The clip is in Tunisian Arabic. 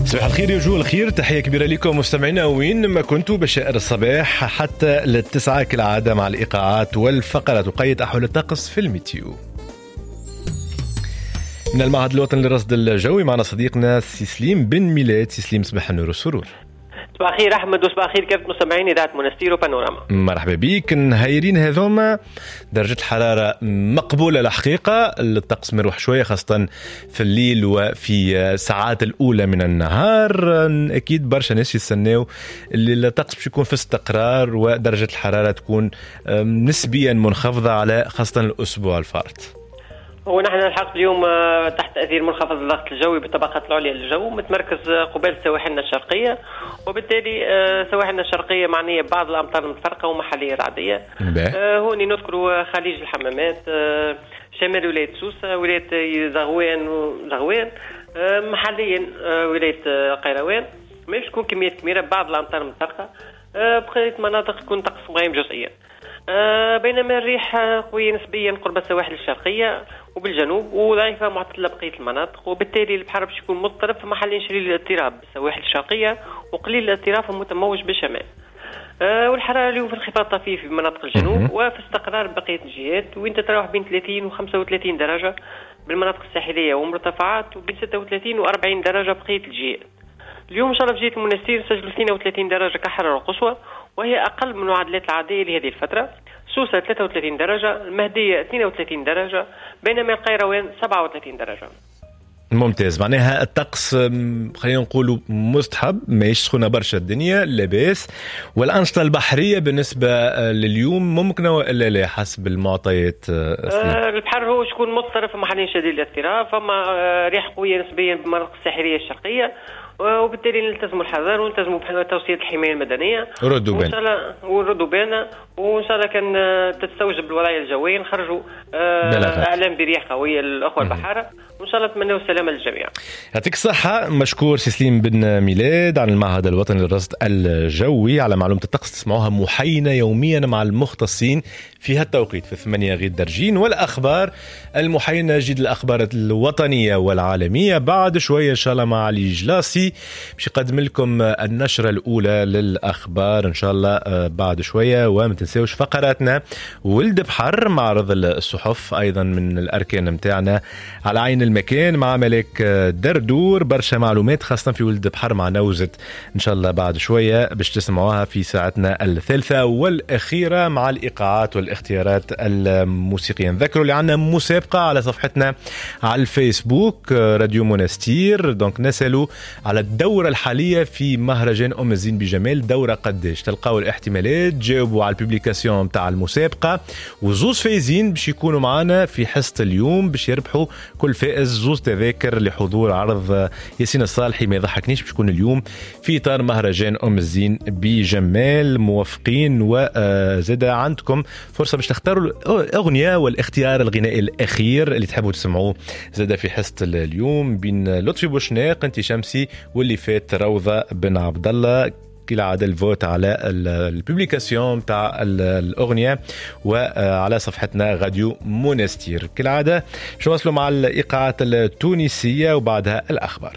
صباح الخير يا وجوه الخير، تحية كبيرة لكم مستمعينا وين ما كنتوا بشائر الصباح حتى للتسعة كالعادة مع الإيقاعات والفقرات وقيد أحوال الطقس في ال météo. من المعهد الوطني للرصد الجوي معنا صديقنا سي سليم بن ميلاد. سي سليم، صباح النور والسرور. صباح الخير احمد وصباح الخير كافة مستمعين اذاعة منستير وبانوراما. مرحبا بك. نهايرين هذوما درجة الحرارة مقبولة الحقيقة، الطقس مروح شوية خاصة في الليل وفي الساعات الأولى من النهار. أكيد برشا ناس يستناو اللي الطقس باش يكون في استقرار ودرجة الحرارة تكون نسبيا منخفضة على خاصة الأسبوع الفارط. هو نحن الحق اليوم تحت تاثير منخفض الضغط الجوي بالطبقات العليا للجو متمركز قبالة سواحلنا الشرقية، وبالتالي سواحلنا الشرقية معنية ببعض الامطار المتفرقة ومحليه رعديه. هوني نذكروا خليج الحمامات، شمال ولاية سوسة، ولاية زغوان، محليا ولاية قيروان. ما تكون كميات كبيرة، بعض الامطار المتفرقة، بقية مناطق تكون طقس مغيم جزئيا. بينما الريح قوية نسبيا قرب السواحل الشرقية وبالجنوب وضعيفة معتدلة بقية المناطق، وبالتالي البحر باش يكون مضطرب في محل شديد الاضطراب بالسواحل الشرقية وقليل الاضطراب متموج بالشمال. والحرارة اليوم في انخفاض طفيف في مناطق الجنوب وفي استقرار بقية الجهات، وين تتراوح بين 30 و 35 درجة بالمناطق الساحلية ومرتفعات، وبين 36 و 40 درجة بقية الجهات. اليوم إن شاء الله في جهة المنستير سجلوا 32 درجة كحرارة قصوى، وهي أقل من المعدلات العادية لهذه الفترة. سوسة 33 درجة، المهدية 32 درجة، بينما القيروان 37 درجة. ممتاز، معناها الطقس خلينا نقولوا مستحب، ماهيش سخونة برشا الدنيا، لاباس. والأنشطة البحرية بالنسبة لليوم ممكنة ولا لا حسب المعطيات؟ البحر هو شكون مضطرب في محلين شديد الاضطراب، فما ريح قوية نسبيا بالمناطق الساحلية الشرقية، وبالتالي نلتزموا الحذر ونلتزموا بتوصية الحماية المدنية. ردوا بالنا وردوا بالنا، وإن شاء الله كان تستوجب الوضعية الجوية نخرجوا إعلام برياح قوية للأخوة البحارة، وإن شاء الله نتمنوا السلامة للجميع. يعطيك الصحة، مشكور سي سليم بن ميلاد عن المعهد الوطني للرصد الجوي على معلومة الطقس، تسمعوها محينة يوميا مع المختصين في هالتوقيت في 8 غير درجين. والأخبار المحينة جديد الأخبار الوطنية والعالمية بعد شوية إن شاء الله مع علي جلاسي باش يقدم لكم النشرة الأولى للأخبار إن شاء الله بعد شوية. وما تنساوش فقراتنا ولد بحر، معرض الصحف أيضا من الأركان متاعنا على عين المكان مع ملك دردور، برشا معلومات خاصة في ولد بحر مع نوزة إن شاء الله بعد شوية باش تسمعوها في ساعتنا الثالثة والأخيرة مع الإيقاعات والاختيارات الموسيقية. نذكروا اللي عندنا مسابقة على صفحتنا على الفيسبوك راديو مونستير، donc نسألوا على الدورة الحالية في مهرجان أم الزين بجمال، دورة قداش؟ تلقاو الاحتمالات، جاوبوا على ال publication تاع المسابقة، وزوز فايزين باش يكونوا معنا في حصة اليوم باش يربحوا كل فائز زوز تذاكر لحضور عرض ياسين الصالحي ما يضحكنيش باش يكون اليوم في إطار مهرجان أم الزين بجمال. موافقين، وزاد عندكم فرصة باش تختاروا الأغنية والاختيار الغنائي الأخير اللي تحبوا تسمعوه زاد في حصة اليوم بين لطفي بوشناق، انت شمسي، واللي فات روضة بن عبد الله. كالعادة ال vote على ال publication تاع الأغنية وعلى صفحتنا راديو مونستير. كالعادة باش نواصلوا مع الإيقاعات التونسية وبعدها الأخبار.